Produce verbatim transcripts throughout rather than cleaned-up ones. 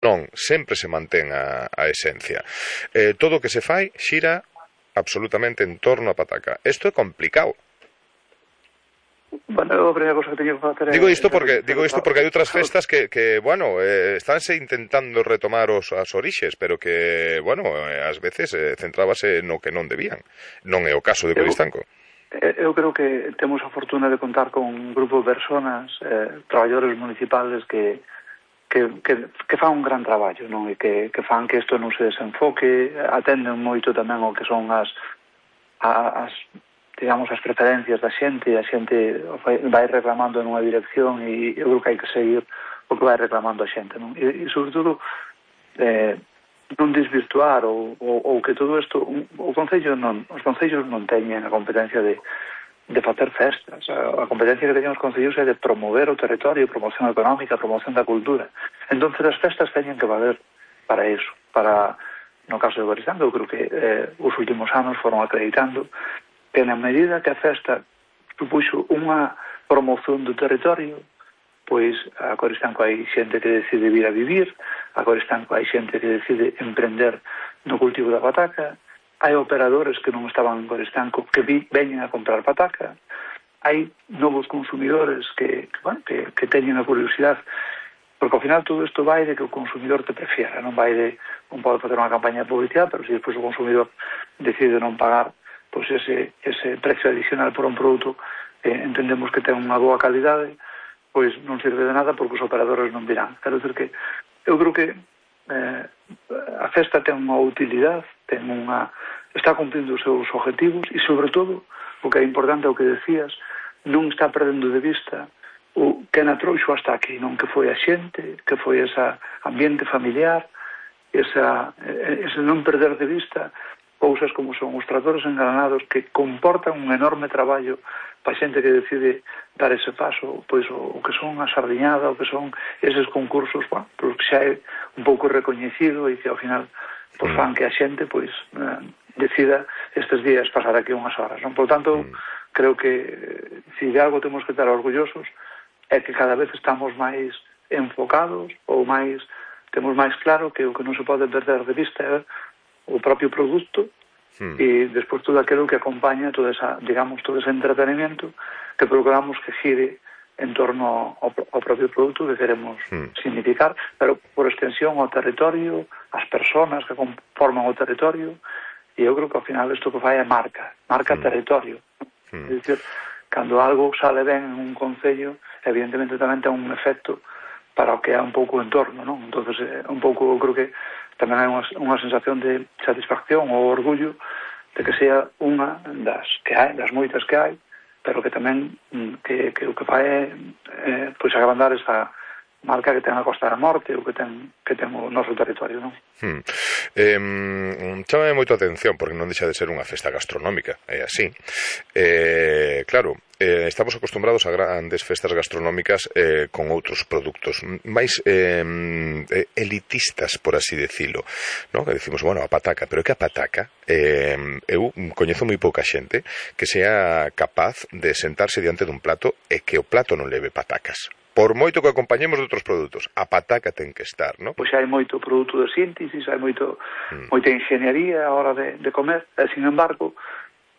Non, sempre se mantén a, a esencia. Eh, todo o que se fai xira absolutamente en torno a pataca. Isto é complicado. Bueno, a primeira cosa que teño que facer é... Digo isto porque digo isto porque hai outras festas que, que bueno, eh, estánse intentando retomar os, as orixes, pero que, bueno, eh, ás veces eh, centrábase no que non debían. Non é o caso de Coristanco. Eu creo que temos a fortuna de contar con un grupo de personas, eh, traballadores municipales que, que, que, que fan un gran traballo, non? E que, que fan que isto non se desenfoque, atenden moito tamén o que son as, as digamos, as preferencias da xente, e a xente vai reclamando nunha dirección e eu creo que hai que seguir o que vai reclamando a xente, non? E, e sobre todo, eh, non desvirtuar ou, ou, ou que todo isto o Concello non, os Concellos non teñen a competencia de, de facer festas. A, a competencia que teñen os Concellos é de promover o territorio, promoción económica, promoción da cultura. Entón as festas teñen que valer para iso, para, no caso de Coristanco, eu creo que eh, os últimos anos foron acreditando que na medida que a festa supuxo unha promoción do territorio, pois a Coristanco hai xente que decide vir a vivir, a Coristanco hai xente que decide emprender no cultivo da pataca, hai operadores que non estaban en Coristanco que vi, veñen a comprar pataca, hai novos consumidores que, que, bueno, que, que teñen a curiosidade, porque ao final todo isto vai de que o consumidor te prefiera, non vai de, non pode facer unha campaña de publicidade, pero se despois o consumidor decide non pagar pois ese, ese precio adicional por un produto que eh, entendemos que ten unha boa calidade, pois non sirve de nada porque os operadores non virán. Quero dizer que eu creo que eh, a festa ten unha utilidade, ten unha, está cumplindo os seus objetivos e, sobre todo, o que é importante é o que decías, non está perdendo de vista o que na trouxo hasta aquí, non, que foi a xente, que foi ese ambiente familiar, esa, ese non perder de vista cousas como son os tratores engranados que comportan un enorme traballo para xente que decide dar ese paso, pois o, o que son a sardiñada, o que son eses concursos, bueno, pois que xa é un pouco recoñecido e que ao final pois fan que a xente pois eh, decida estes días pasar aquí unhas horas, non? Por tanto, mm. creo que eh, se de algo temos que estar orgullosos é que cada vez estamos máis enfocados ou máis temos máis claro que o que non se pode perder de vista é o propio produto hmm. e despois todo aquilo que acompaña toda esa, digamos, todo ese entretenimiento que procuramos que gire en torno ao, ao propio produto que queremos hmm. significar, pero por extensión ao territorio, as persoas que conforman o territorio, e eu creo que ao final isto que fai é marca, marca hmm. territorio. Hmm. É dicir, cando algo sale ben en un concello, evidentemente tamén ten un efecto para o que é un pouco o entorno, non? Entón, un pouco, eu creo que tamén hai unha, unha sensación de satisfacción ou orgullo de que sea unha das que hai, das moitas que hai, pero que tamén que, que o que fai é eh, pois agrandar esa marca que ten a Costa da Morte ou que ten, que ten o noso territorio, non? Hmm. Eh, chámame moito a atención porque non deixa de ser unha festa gastronómica, é así. Eh, claro, eh, estamos acostumbrados a grandes festas gastronómicas eh, con outros produtos máis eh, elitistas, por así decilo, ¿no? Que decimos, bueno, a pataca, pero que a pataca eh, eu coñezo moi pouca xente que sea capaz de sentarse diante dun plato e que o plato non leve patacas. Por moito que acompañemos de outros produtos, a pataca ten que estar, non? Pois hai moito produto de síntesis, hai moito, mm. moita ingeniería a hora de, de comer, e, sin embargo,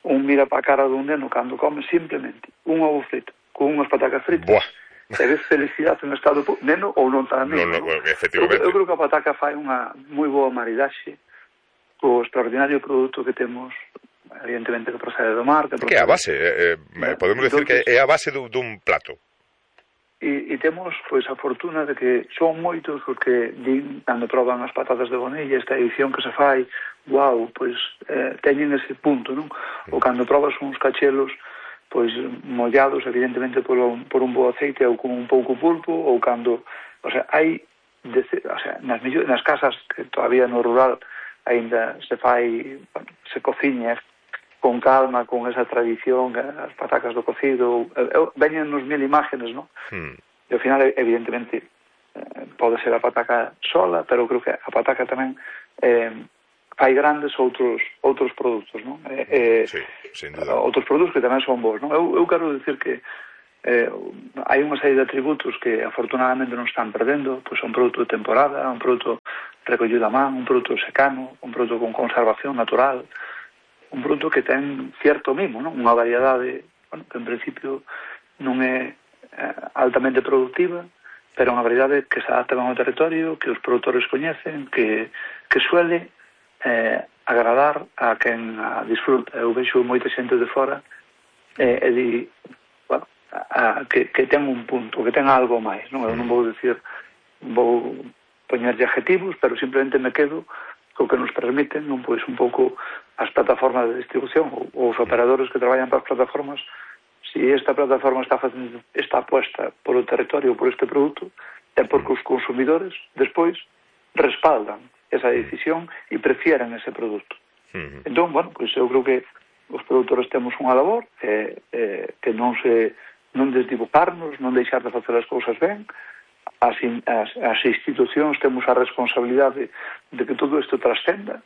un mira para a cara dun neno cando come simplemente un ovo frito con unhas patacas fritas. Buah. E ves felicidade en estado neno ou non tan neno. No, no, efectivamente. Eu, eu creo que a pataca fai unha moi boa maridaxe co extraordinario produto que temos, evidentemente que procede do mar. Que, que é a base, eh, eh, podemos decir que é a base dun plato. E, e temos pois a fortuna de que son moitos os que din, cando proban as patatas de Bonilla, esta edición que se fai, wow, pois eh, teñen ese punto, non? Ou cando probas uns cachelos pois mollados evidentemente por un, por un bo aceite ou con un pouco pulpo, ou cando, o sea, hai de, o sea, nas, millor, nas casas que todavía no rural aínda se fai, se cociña con calma, con esa tradición, as patacas do cocido, veñen nos mil imágenes, non? Hmm. E ao final, evidentemente, eh, pode ser a pataca sola, pero creo que a pataca tamén eh, fai grandes outros outros produtos, non? Eh, sí, sin duda. Outros produtos que tamén son bons, non? Eu, eu quero dicir que eh, hai unha serie de atributos que afortunadamente non están perdendo, pois un produto de temporada, un produto recollido a man, un produto secano, un produto con conservación natural, un produto que ten cierto mimo, non? Unha variedade, bueno, que en principio non é eh, altamente productiva, pero unha variedade que se adapta ao territorio, que os produtores coñecen, que, que suele eh, agradar a quen a disfruta. Eu vexo moita xente de fora eh, e di, bueno, a, que, que ten un punto, que ten algo máis, non? Eu non vou dicir, vou poñerlle adjetivos, pero simplemente me quedo co que nos permiten, non, pois un pouco as plataformas de distribución ou os operadores que traballan para as plataformas. Si esta plataforma está facendo esta apuesta polo territorio, por este produto, é porque os consumidores despois respaldan esa decisión e prefieren ese produto. Uh-huh. Entón, bueno, pois eu creo que os produtores temos unha labor eh, eh, que non se non desdibujarnos, non deixar de facer as cousas ben. As, as, as institucións temos a responsabilidade de que todo isto trascenda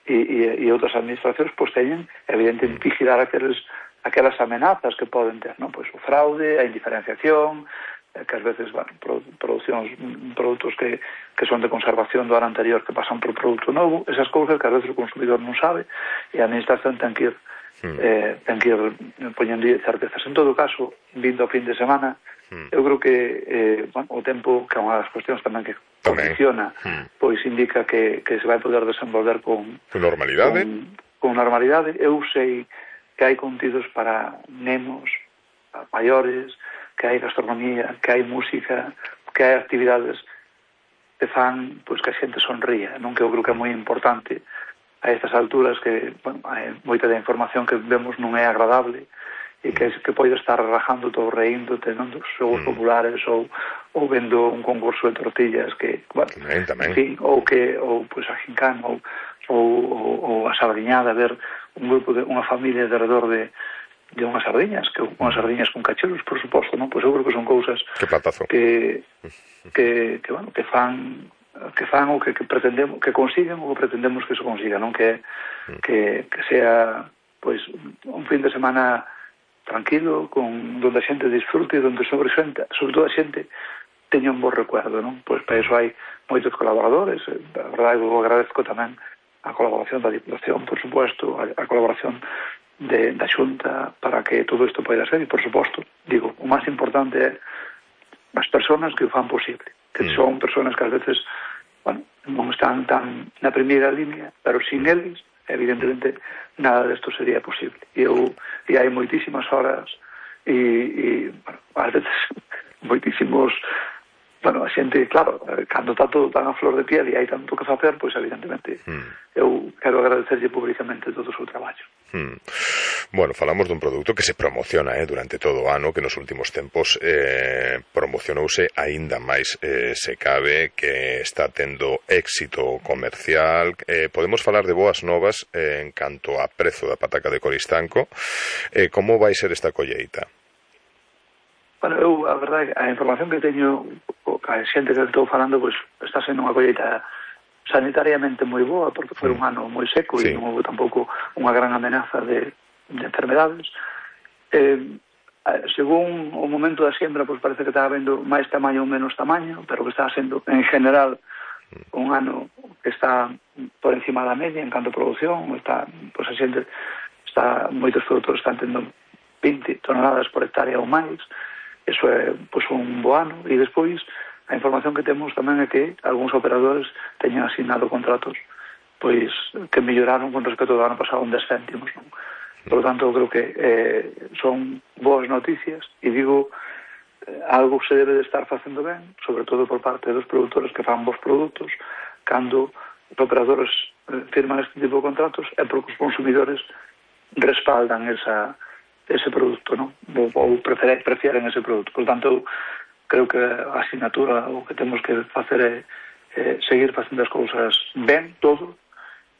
e, e, e outras administracións pois teñen, evidentemente, vigilar aqueles aquelas amenazas que poden ter, non? Pois o fraude, a indiferenciación, que ás veces, bueno, producións, produtos que, que son de conservación do ano anterior que pasan por produto novo, esas cousas que ás veces o consumidor non sabe e a administración ten que ir eh, ten que ir poñendo certezas. En todo caso, vindo o fin de semana, eu creo que eh, bueno, o tempo, que é unha das cuestións tamén que condiciona, pois indica que, que se vai poder desenvolver con, con normalidade. Con, con normalidade. Eu sei que hai contidos para nemos, para maiores, que hai gastronomía, que hai música, que hai actividades que fan pois, que a xente sonría, non? Que eu creo que é moi importante a estas alturas, que bueno, hai moita da información que vemos non é agradable e que, que pode estar rajando todo reindo, tendo os xogos mm. populares ou, ou vendo un concurso de tortillas que, bueno, tamén, tamén. En fin, ou que ou pois a gincana ou, ou, ou, ou a sardiñada, ver un grupo de unha familia alrededor de de unhas sardiñas, que unhas sardiñas con cachelos, por suposto, non? Pois eu creo que son cousas que platazo. Que que que bueno, que fan que fan o que, que pretendemos, que consiguen ou que pretendemos que se consiga, non? Que que que sea pois un fin de semana tranquilo, con donde a xente disfrute, donde sobre xente, sobre todo a xente teña un bo recuerdo, non? Pois para iso hai moitos colaboradores, a verdade eu agradezco tamén a colaboración da Diputación, por suposto, a, a colaboración de, da Xunta para que todo isto poida ser, e por suposto, digo, o máis importante é as persoas que o fan posible, que mm. son persoas que ás veces, bueno, non están tan na primeira línea, pero sin eles, evidentemente, nada desto sería posible. E eu, e hai moitísimas horas e, e bueno, ás veces moitísimos, bueno, a xente, claro, cando está todo tan a flor de piel e hai tanto que facer, pois evidentemente mm. eu quero agradecerlle públicamente todo o seu traballo. Mm. Bueno, falamos dun produto que se promociona eh, durante todo o ano, que nos últimos tempos eh, promocionouse aínda máis eh, se cabe, que está tendo éxito comercial. Eh, podemos falar de boas novas eh, en canto a prezo da pataca de Coristanco. Eh, como vai ser esta colleita? Bueno, eu, a verdade, a información que teño, a xente que estou falando, pois está sendo unha colleita sanitariamente moi boa, porque foi un ano moi seco sí. E non houve tampouco unha gran amenaza de, de enfermedades. Eh, según o momento da siembra, pois parece que está habendo máis tamaño ou menos tamaño, pero que está sendo, en general, un ano que está por encima da media en canto a produción. Está, pois a xente, está, moitos produtores están tendo vinte toneladas por hectárea ou máis. Eso é pois, un bo ano. E despois a información que temos tamén é que algúns operadores teñen asignado contratos pois que melloraron con respecto ao ano pasado un dez céntimos, non? Por lo tanto, eu creo que eh, son boas noticias e digo, eh, algo se debe de estar facendo ben, sobre todo por parte dos produtores que fan bons produtos, cando os operadores eh, firman este tipo de contratos é porque os consumidores respaldan esa, ese produto, non? Ou, ou prefieren, prefieren ese produto. Por lo tanto, creo que a asignatura o que temos que facer é eh, seguir facendo as cousas ben, todo,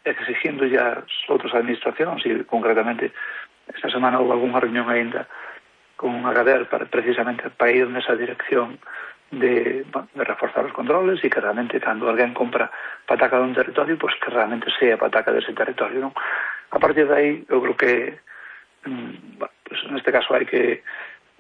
exigindo ya as outras administracións, e concretamente esta semana houve algunha reunión ainda con a Gader para, precisamente para ir nesa dirección de, de reforzar os controles e que realmente cando alguén compra pataca dun territorio, pois que realmente sea pataca dese territorio, non? A partir de aí, eu creo que mm, bueno, pues neste caso hai que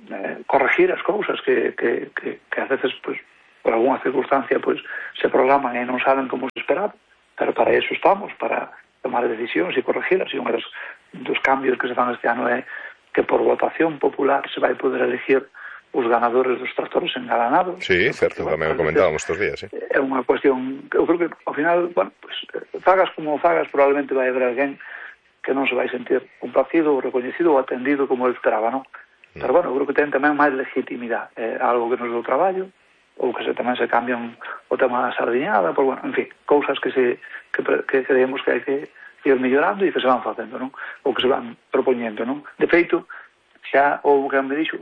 eh, corregir as cousas que, que, que, que a veces, pues, por alguna circunstancia, pues, se programan e non salen como se esperaba, pero para eso estamos, para tomar decisións e corregirlas, e un dos, dos cambios que se fan este ano é que por votación popular se vai poder elegir os ganadores dos tractores engalanados. Sí, certo, tamén o comentábamos estes días, sí. É unha cuestión, eu creo que ao final, bueno, pues, fagas como fagas, probablemente vai haber alguén que non se vai sentir complacido ou recoñecido ou atendido como ele esperaba, non? Mm. Pero, bueno, eu creo que ten tamén máis legitimidade, é algo que nos deu traballo, ou que se, tamén se cambian o tema da sardiñada, por, bueno, en fin, cousas que se que, que creemos que hai que ir mellorando e que se van facendo, non? Ou que se van propoñendo, non? De feito, xa houve que me dixo,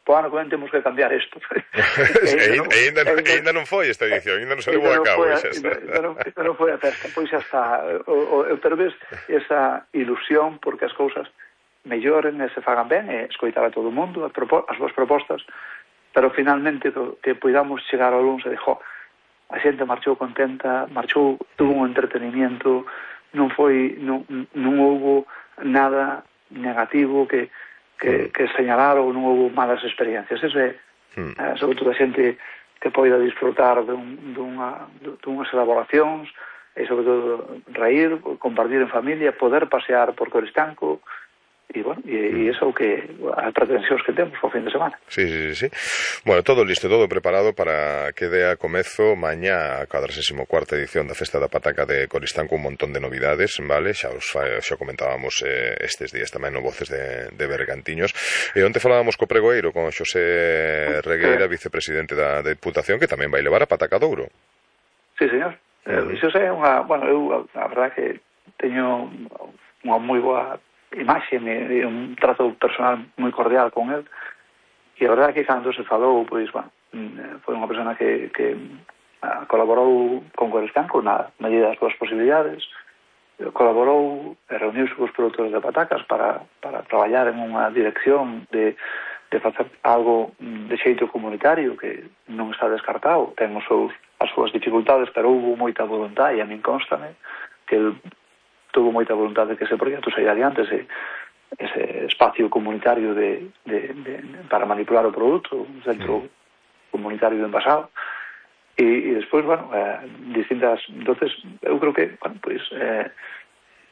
po ano que ven temos que cambiar isto. e ainda non foi esta edición, ainda non se levou a cabo. Ainda non foi a festa, pois xa está. Pero ves esa ilusión porque as cousas melloren e se fagan ben e escoitar a todo o mundo as súas propostas, pero finalmente que podamos chegar ao luns e dixo, a xente marchou contenta, marchou, tuvo un entretenimiento, non foi, non, non houve nada negativo que que, que señalar ou non houve malas experiencias. Eso é, hmm. eh, sobre todo a xente que poida disfrutar dun, dunha, dunhas elaboracións e sobre todo reír, compartir en familia, poder pasear por Coristanco e, bueno, e, hmm. e eso que as pretensións que temos ao fin de semana. Sí, sí, sí. Bueno, todo listo, todo preparado para que dea comezo mañá a cuadragésima cuarta edición da Festa da Pataca de Coristanco, un montón de novidades, vale? Xa os xa comentábamos eh, estes días tamén no Voces de, de Bergantiños. E onte falábamos co pregoeiro, con Xosé Regueira, vicepresidente da Deputación, que tamén vai levar a Pataca de Ouro. Sí, señor. Uh-huh. Eh, Xosé é unha, bueno, eu a verdade que teño unha moi boa imaxe e un trato personal moi cordial con el, e a verdade que cando se falou, pois, bueno, foi unha persona que, que colaborou con Coristanco na medida das súas posibilidades, colaborou e reuniuse cos produtores de patacas para, para traballar en unha dirección de, de facer algo de xeito comunitario que non está descartado, ten os seus, as súas dificultades, pero houve moita voluntade, e a min constame que el tuvo moita voluntade de que ese proxecto saia adiante, ese, ese espacio comunitario de, de, de, para manipular o produto, un centro mm. comunitario de envasado, e, e despois, bueno, eh, distintas, entonces, eu creo que, bueno, pues, eh,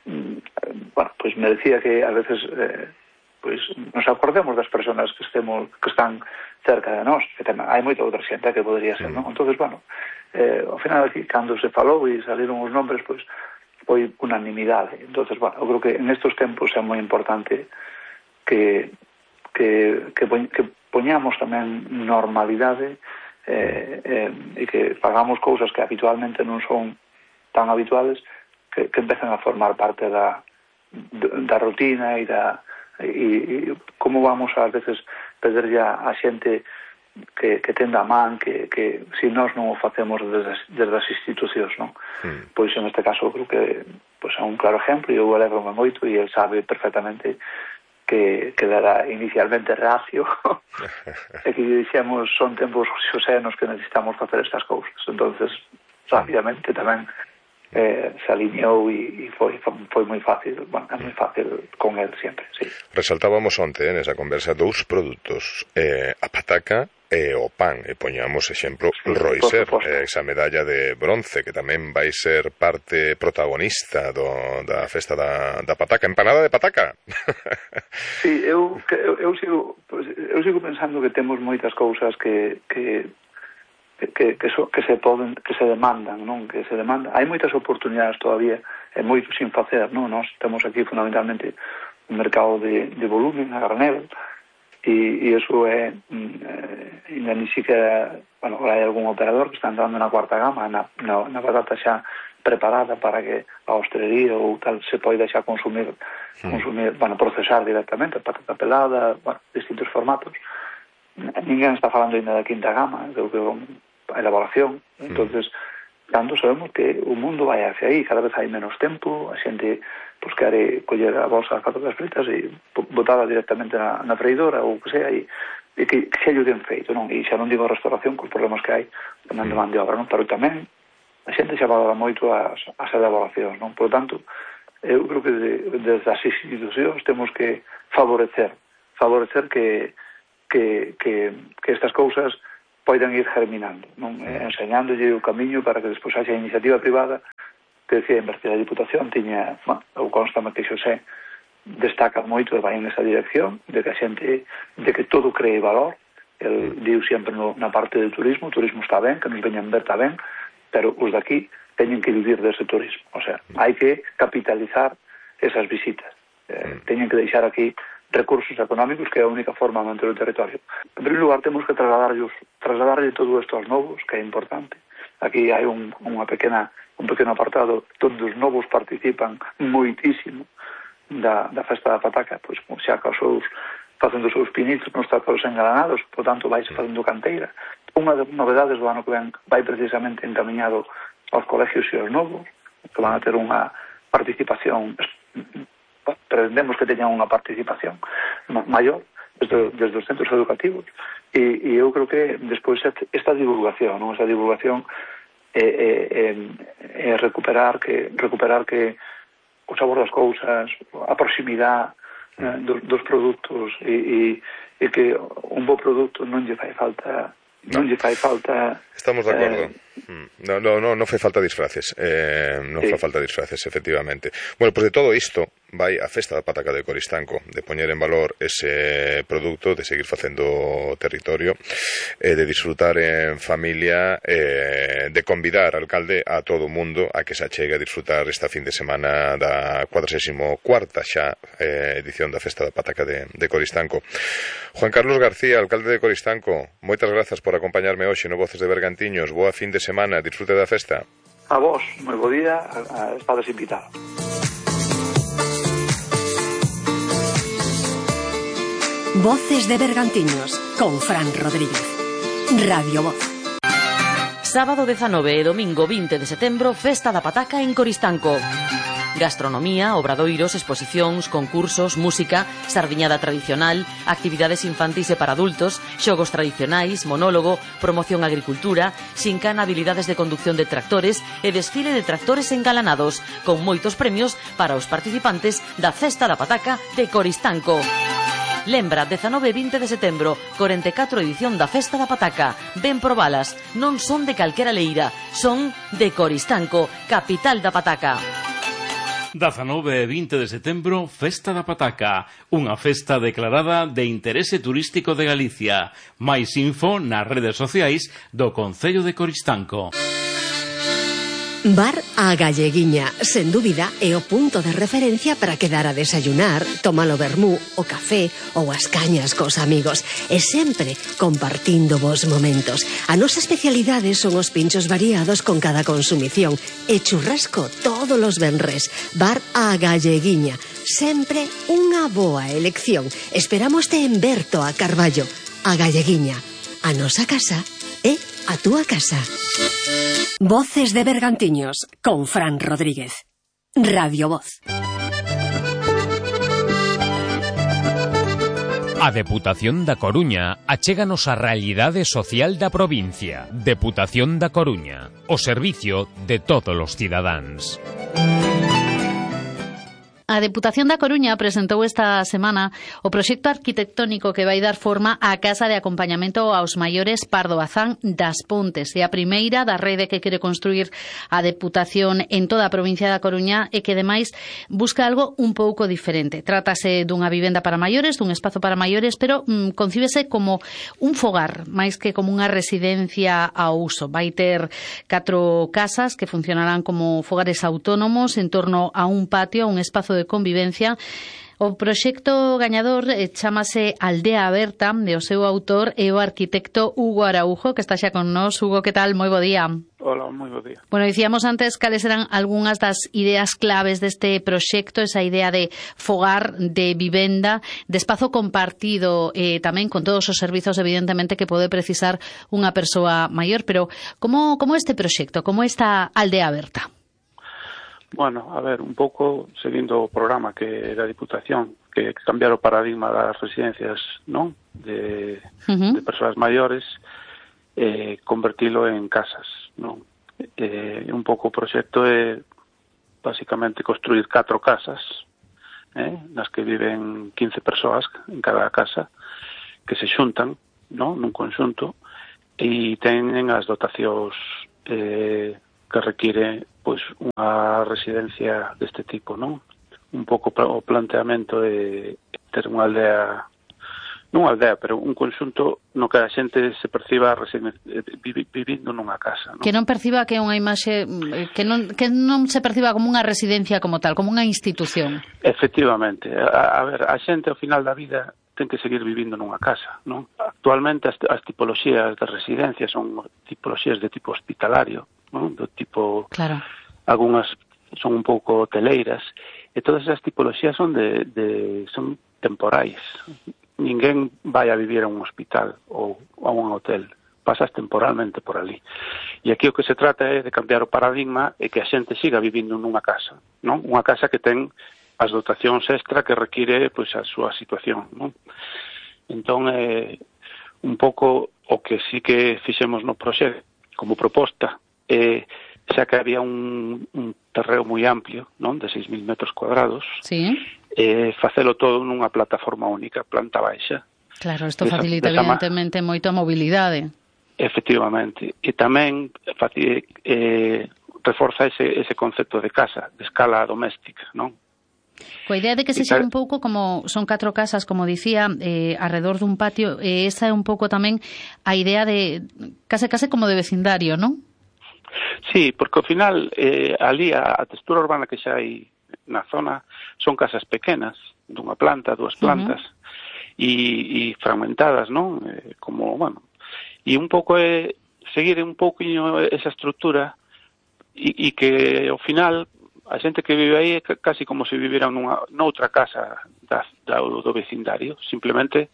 bueno, pues me decía que a veces, eh, pues, nos acordemos das personas que estemos, que están cerca de nós, que ten, hai moita outra xente que podría ser, mm. non? Entonces, bueno, eh, ao final aquí, cando se falou e saliron os nombres, pues, foi unanimidade. Entonces, bueno, eu creo que en estos tempos é moi importante que que, que, que poñamos tamén normalidade eh, eh, e que fagamos cousas que habitualmente non son tan habituales, que, que empezan a formar parte da, da rutina e da e, e como vamos a veces perder ya a xente que, que tenda a man, que, que se nós non o facemos desde, desde as institucións, non? Mm. Pois en este caso creo que pois, é un claro exemplo, e eu alegro-me moito, e ele sabe perfectamente que, que era inicialmente reacio e que dixemos son tempos xosenos que necesitamos facer estas cousas. Entonces rápidamente tamén eh, se alineou e, e foi, foi moi fácil, bueno, é moi fácil con el sempre, sí. Resaltábamos onte eh, nesa conversa dous produtos, eh, a pataca e o pan, e poñamos exemplo sí, Roiser, eh, esa medalla de bronce que tamén vai ser parte protagonista do, da festa da, da pataca, empanada de pataca. Sí, eu, eu, eu, sigo, eu sigo pensando que temos moitas cousas que que que, que, so, que se poden, que se demandan, non? Que se demandan. Hai moitas oportunidades todavía, e moito sin facer, non? Nós temos aquí fundamentalmente un mercado de, de volumen a granel, e, e iso é eh, ainda ni siquiera, bueno, hai algún operador que está entrando na cuarta gama na, na, na batata xa preparada para que a hostelería ou tal se poida xa consumir, sí. consumir, bueno, procesar directamente, patata pelada, bueno, distintos formatos. Ninguén está falando ainda da quinta gama, creo que a elaboración, entonces cando sabemos que o mundo vai hacia aí, cada vez hai menos tempo, a xente pues, quere coller a bolsa das patatas fritas e botada directamente na, na freidora ou que sea, e, e que, que xa lle den feito, non? E xa non digo a restauración cos problemas que hai tamén de man de obra, non? Pero tamén a xente xa valora moito as, as elaboracións, non? Por tanto, eu creo que de, desde as institucións temos que favorecer favorecer que que, que, que estas cousas poidan ir germinando, non? Enseñándolle o camiño para que despois haxa iniciativa privada que decía invertir a Diputación tiña, bueno, eu constame que Xosé destaca moito e vai en esa dirección de que a xente, de que todo cree valor. El diu sempre no, na parte do turismo, o turismo está ben, que nos veñan ver está ben, pero os daqui teñen que vivir dese turismo, o sea, hai que capitalizar esas visitas, eh, teñen que deixar aquí recursos económicos, que é a única forma de manter o territorio. En primeiro lugar, temos que trasladarlle, trasladarlle todo isto aos novos, que é importante. Aquí hai un, unha pequena, un pequeno apartado onde os novos participan moitísimo da, da festa da pataca, pois xa que os seus, facendo os seus pinitos nos trazos engalanados, por tanto vais facendo canteira. Unha das novedades do ano que ven vai precisamente encaminhado aos colegios e aos novos, que van a ter unha participación, pretendemos que teñan unha participación maior desde, desde os centros educativos, e, e eu creo que despois esta divulgación, non? Esta divulgación é, é, é, é recuperar que recuperar que o sabor das cousas, a proximidade eh, dos, dos produtos, e, e, e que un bo produto non lle fai falta non lle fai falta. Estamos de acordo. Eh, no, no, no, non fai falta disfraces. Eh, non sí. fai falta disfraces, efectivamente. Bueno, pois pues de todo isto vai a festa da pataca de Coristanco, de poñer en valor ese produto, de seguir facendo territorio, eh, de disfrutar en familia, eh, de convidar, alcalde, a todo o mundo a que se achegue a disfrutar esta fin de semana da cuadragésima cuarta xa eh, edición da festa da pataca de, de Coristanco. Juan Carlos García, alcalde de Coristanco, moitas grazas por acompañarme hoxe no Voces de Bergantiños. Boa fin de semana, disfrute da festa. A vos, moi bo día, a, a estades invitados. Voces de Bergantiños, con Fran Rodríguez. Radio Voz. Sábado dezanove e domingo vinte de setembro, Festa da Pataca en Coristanco. Gastronomía, obradoiros, exposicións, concursos, música, sardiñada tradicional, actividades infantis e para adultos, xogos tradicionais, monólogo, promoción agricultura, xincana, habilidades de conducción de tractores e desfile de tractores engalanados, con moitos premios para os participantes da Festa da Pataca de Coristanco. Lembra, dezanove e vinte de setembro, corenta e catro edición da Festa da Pataca. Ven probalas, non son de calquera leira, son de Coristanco, capital da pataca. dezanove e vinte de setembro, Festa da Pataca, unha festa declarada de interese turístico de Galicia. Mais info nas redes sociais do Concello de Coristanco. Bar A Galleguiña, sen dúbida, é o punto de referencia para quedar a desayunar, tomar o vermú, o café ou as cañas cos amigos, e sempre compartindo vos momentos. A nosa especialidade son os pinchos variados con cada consumición e churrasco todos os venres. Bar A Galleguiña, sempre unha boa elección. Esperámoste en Berto a Carballo. A Galleguiña, a nosa casa é a túa casa. Voces de Bergantiños, con Fran Rodríguez. Radio Voz. A Deputación da Coruña achéganos a realidade social da provincia. Deputación da Coruña, o servicio de todos os cidadáns. A Deputación da Coruña presentou esta semana o proxecto arquitectónico que vai dar forma á Casa de Acompañamento aos Maiores Pardo Bazán das Pontes. É a primeira da rede que quere construir a Deputación en toda a provincia da Coruña e que, ademais, busca algo un pouco diferente. Trátase dunha vivenda para maiores, dun espazo para maiores, pero mm, concíbese como un fogar, máis que como unha residencia ao uso. Vai ter catro casas que funcionarán como fogares autónomos en torno a un patio, a un espazo de convivencia. O proxecto gañador eh, chámase Aldea Aberta, de o seu autor e o arquitecto Hugo Araujo, que está xa con nós. Hugo, que tal? Moi bo día. Hola, moi bo día. Bueno, dicíamos antes cales eran algunhas das ideas claves deste proxecto, esa idea de fogar, de vivenda, de espazo compartido, eh, tamén con todos os servizos, evidentemente, que pode precisar unha persoa maior. Pero como, como este proxecto, como esta Aldea Aberta? Bueno, a ver, un pouco seguindo o programa que da Diputación, que cambiar o paradigma das residencias, non? De, uh-huh. de persoas maiores, eh, convertilo en casas, non? Eh, un pouco o proxecto é basicamente construir catro casas, eh, nas que viven quince persoas en cada casa, que se xuntan, non, nun conxunto, e teñen as dotacións eh, que require pois unha residencia deste tipo, non? Un pouco o planteamento de ter unha aldea, non unha aldea, pero un conxunto no que a xente se perciba vivindo nunha casa, non? Que non perciba que é unha imaxe, que non, que non se perciba como unha residencia como tal, como unha institución. Efectivamente. A, a ver, a xente ao final da vida ten que seguir vivindo nunha casa, non? Actualmente as, as tipoloxías de residencia son tipoloxías de tipo hospitalario, non? Do tipo, claro, algunhas son un pouco hoteleiras, e todas esas tipoloxías son de, de son temporais. Ninguén vai a vivir a un hospital ou a un hotel, pasas temporalmente por ali. E aquí o que se trata é de cambiar o paradigma e que a xente siga vivindo nunha casa, non? Unha casa que ten as dotacións extra que require pois a súa situación, non? Entón, eh, un pouco o que sí que fixemos no proxecto como proposta, eh, xa que había un, un terreo moi amplio, non, de seis mil metros cuadrados, sí, eh, facelo todo nunha plataforma única, planta baixa. Claro, isto facilita desa, evidentemente ma... moito a mobilidade. Efectivamente, e tamén eh, reforza ese, ese concepto de casa, de escala doméstica, non? Coa idea de que sexa un pouco como son catro casas, como dicía, eh, alrededor dun patio, e eh, esa é un pouco tamén a idea de case case como de vecindario, non? Sí, porque ao final eh, ali a, a textura urbana que xa hai na zona son casas pequenas, dunha planta, dúas plantas, uh-huh, e, e fragmentadas, non? Eh, como, bueno, e un pouco é seguir un pouquinho esa estrutura e, e que ao final a xente que vive aí é casi como se vivira nunha, noutra casa da, da, do vecindario, simplemente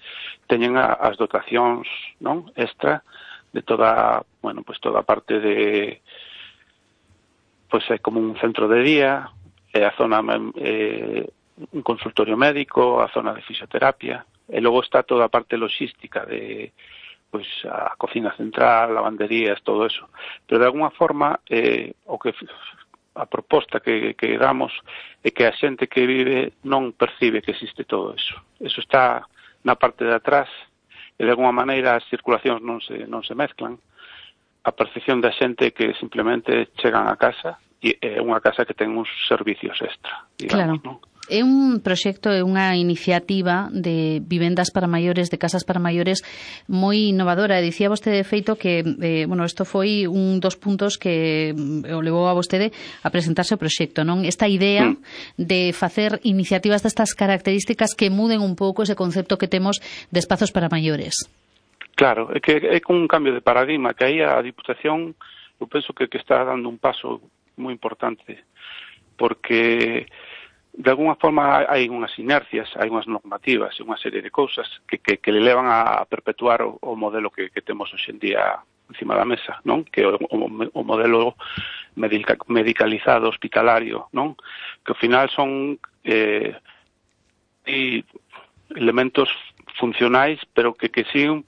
teñen a, as dotacións, non, extra de toda, bueno, pues toda a parte de, pues é como un centro de día, é a zona, eh, un consultorio médico, a zona de fisioterapia, e logo está toda a parte logística de, pues a cocina central, lavanderías, todo eso. Pero de alguna forma, eh, o que a proposta que, que damos é que a xente que vive non percibe que existe todo eso. Eso está na parte de atrás e de alguna maneira as circulacións non se, non se mezclan. A percepción da xente que simplemente chegan a casa e é unha casa que ten uns servicios extra, digamos, claro, non? É un proxecto, é unha iniciativa de vivendas para maiores, de casas para maiores moi innovadora. Dicía vostede, de feito, que eh, bueno, isto foi un dos puntos que o levou a vostede a presentarse o proxecto, non? Esta idea mm. de facer iniciativas destas características que muden un pouco ese concepto que temos de espazos para maiores. Claro, é que é un cambio de paradigma que aí a Diputación, eu penso que, que está dando un paso moi importante, porque de alguna forma hai unhas inercias, hai unhas normativas e unha serie de cousas que, que, que le levan a perpetuar o, o modelo que, que temos hoxe en día encima da mesa, non? Que o, o, o modelo medica, medicalizado, hospitalario, non? Que ao final son eh, elementos funcionais, pero que, que siguen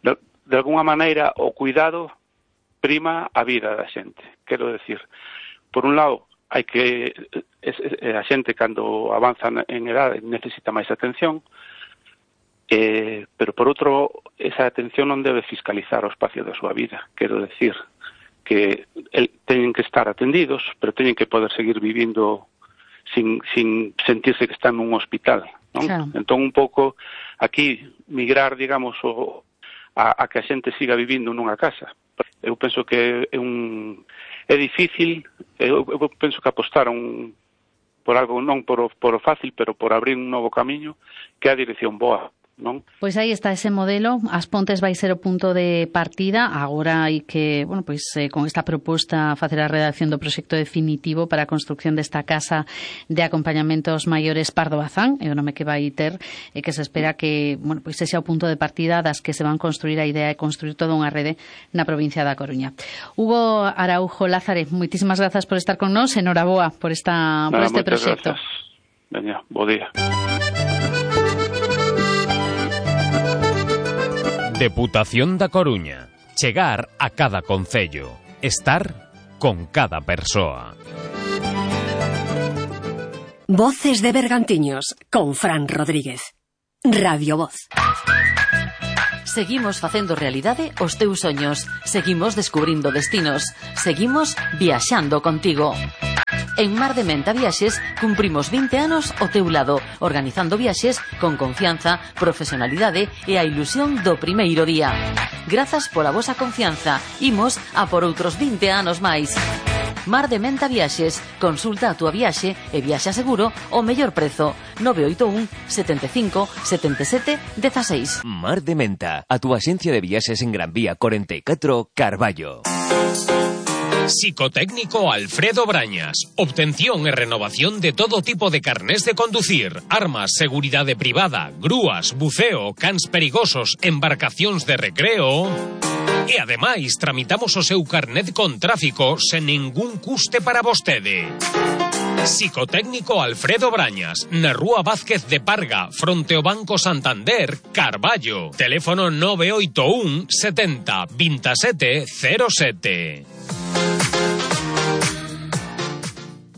de, de alguna maneira o cuidado prima a vida da xente. Quero decir, por un lado, hai que es, es, a xente cando avanza en edade necesita máis atención, eh, pero por outro, esa atención non debe fiscalizar o espacio da súa vida. Quero decir que el, teñen que estar atendidos, pero teñen que poder seguir vivindo sin, sin sentirse que están nun hospital, non? Claro. Entón, un pouco, aquí, migrar, digamos, o, a, a que a xente siga vivindo nunha casa. Eu penso que é un... É difícil, eu, eu penso que apostaron por algo, non por o, por o fácil, pero por abrir un novo camiño que é a dirección boa, non? Pois aí está ese modelo. As Pontes vai ser o punto de partida. Agora hai que, bueno, pois eh, con esta proposta facer a redacción do proxecto definitivo para a construcción desta casa de acompañamentos maiores Pardo Bazán, é o nome que vai ter, e que se espera que, bueno, pois ese é o punto de partida das que se van construir a idea de construir toda unha rede na provincia da Coruña. Hugo Araujo Lázarez, moitísimas grazas por estar con nós, enhoraboa por esta por este proxecto. Veña, bo día. Deputación da Coruña. Chegar a cada concello. Estar con cada persoa. Voces de Bergantiños con Fran Rodríguez. Radio Voz. Seguimos facendo realidade os teus soños. Seguimos descubrindo destinos. Seguimos viaxando contigo. En Mar de Menta Viaxes cumprimos vinte anos ao teu lado, organizando viaxes con confianza, profesionalidade e a ilusión do primeiro día. Grazas pola vosa confianza. Imos a por outros vinte anos máis. Mar de Menta Viaxes. Consulta a túa viaxe e viaxa seguro ao mellor prezo. nove oito un, sete cinco, sete sete, uno seis. Mar de Menta, a túa axencia de viaxes en Gran Vía cuarenta y cuatro, Carballo. Psicotécnico Alfredo Brañas. Obtención e renovación de todo tipo de carnés de conducir, armas, seguridade privada, grúas, buceo, cans perigosos, embarcacións de recreo. E ademais tramitamos o seu carnet con tráfico sen ningún custe para vostede. Psicotécnico Alfredo Brañas, na Rúa Vázquez de Parga, fronte ao Banco Santander, Carballo. Teléfono nove oito un, setenta, veintisiete, cero siete.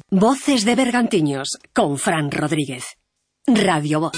Voces de Bergantiños con Fran Rodríguez. Radio Voz.